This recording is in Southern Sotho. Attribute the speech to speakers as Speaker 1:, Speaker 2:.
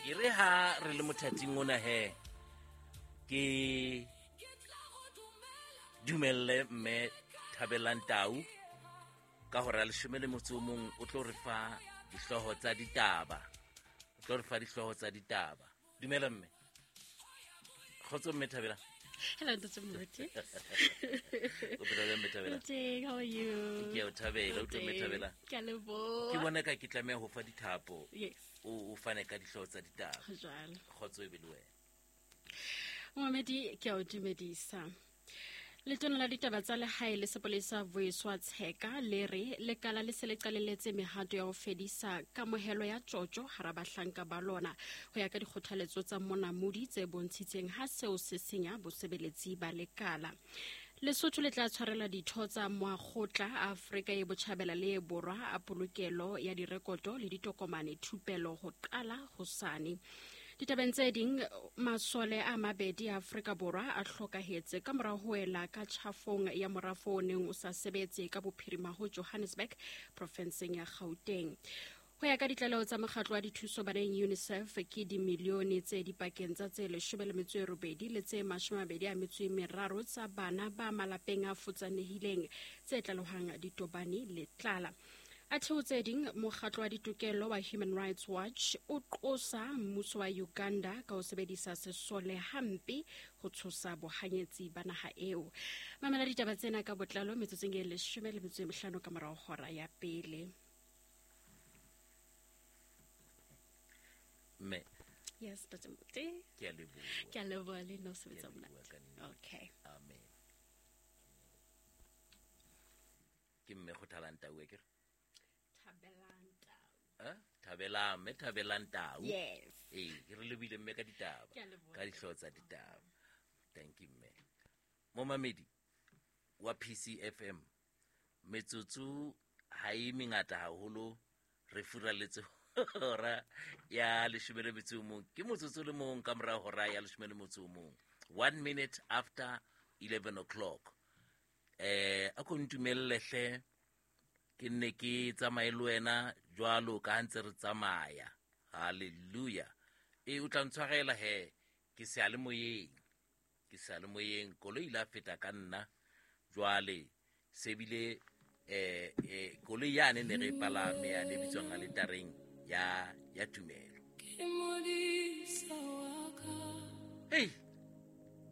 Speaker 1: E re ha re le mothating ona he ke dumelle mme Thabelang Tau ka hora ya 11 o tlo re fa dihlooho tsa ditaba. O tlo re fa dihlooho tsa ditaba. Dumela mme. Kgotso mme Thabelang.
Speaker 2: Hello, Ntate Moruti.
Speaker 1: O phela jwang mme Thabelang?
Speaker 2: Teng, how are you?
Speaker 1: Ke a o thabela, o mme Thabelang.
Speaker 2: Ke a leboha.
Speaker 1: Ke bona ka ke tlameha ho fa dithapo.
Speaker 2: Yes.
Speaker 1: O fane ka dihlooho tsa ditaba.
Speaker 2: Jwalo.
Speaker 1: Kgotso e be le wena.
Speaker 2: Momamedi, ke a o dumedisa. Letona la ditaba tsa lehae le sepolesa Vuyiswa Tsheka le re lekala le se le qalelletse mehato ya ho fedisa kamohelo ya tjotjo hara bahlanka ba lona ho ya ka dikgothaletso tsa monamodi tse bontshitseng ha seo se senya bosebeletsi ba lekala. Lesotho le tla tshwarela ditho tsa Moakgotla a Afrika e Botjhabela le e Borwa a polokelo ya direkoto le ditokomane thupelo ho qala hosane. Ditabeng tse ding, masole a mabedi a Afrika Borwa a hlokahetse ka mora ho wela ka tjhafong ya morafo o neng o sa sebetse ka bophirima ho Johannesburg, profenseng ya Gauteng. Ho ya ka ditlaleho tsa mokgatlo wa dithuso baneng UNICEF, ke dimilione tse dipakeng tsa tse 18 le tse 23 tsa bana ba malapeng a futsanehileng tse tlalehwang ditobane le tlala. Athe ho tse ding, mokgatlo wa ditokelo wa Human Rights Watch o qosa mmuso wa Uganda ka ho sebedisa sesole hampe ho tshosa bohanyetsi ba naha eo. Mamela ditaba tsena ka botlalo metsotsong e 15 ka morao hora ya pele.
Speaker 1: Mme.
Speaker 2: Yes, Ntate Moruti.
Speaker 1: Ke a leboha.
Speaker 2: Ke a leboha le nna o sebetsa monate. Okay.
Speaker 1: Amen. Ke mme Kgothalang Tau e kere?
Speaker 2: Thabelang Tau.
Speaker 1: Eh? Thabelang, mme Thabelang Tau.
Speaker 2: Yes.
Speaker 1: Ee, ke re lebile mme ka ditaba.
Speaker 2: Ke a leboha.
Speaker 1: Ka dihlooho tsa ditaba. Thank you mme. Momamedi wa PCFM, metsotso ha e mengata haholo, re furaletse hora ya 11. Ke motsotso le mong ka mora hora ya 11. 1 minute after 11 o'clock. A ko ntumelle hle ke nne ke tsamaye le wena jwalo ka ha ntse re tsamaya. Hallelujah. O tla ntshwarela he, ke seyalemoyeng. Ke seyalemoyeng, koloi ile ya feta ka nna. Jwale se bile koloi yane ne re e palame yane e bitswang aletareng ya tumelo.
Speaker 3: Ke modisa wa ka.
Speaker 1: Hey.